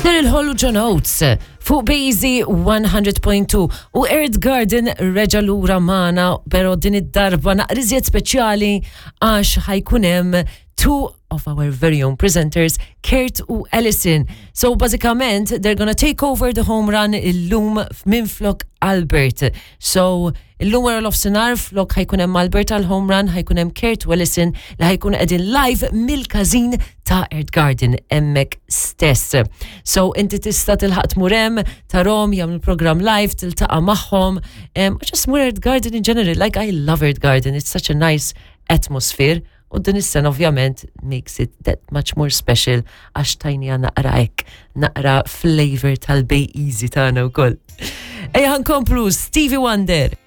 Daryl Hall u John Oates fuq Bazy 100.2 u Earth Garden reġa lura magħna, pero din id-darba naqriżiet speċjali għax ħa jkun hemm two of our very own presenters, Kurt u Alison. So bażikament, they're gonna take over the home run illum minn flok Albert. So illum wara l-offsinar flok ħa jkun hemm Albert għal home run, ħa jkun hemm Kurt u Alison li ħa jkun qegħdin live mill-każin ta' Earth Garden hemmhekk stess. So inti tista' tilħaq tmur hemm, tarahom jagħmlu program live, tiltaqa' magħhom. Just mur Earth Garden in general, like I love Earth Garden, it's such a nice atmosphere. U din is-sena ovvjament makes it that much more special għax tajni naqra hekk, naqra flavor tal-Bay Easy tagħna wkoll. Ejja nkomplu Stevie Wonder.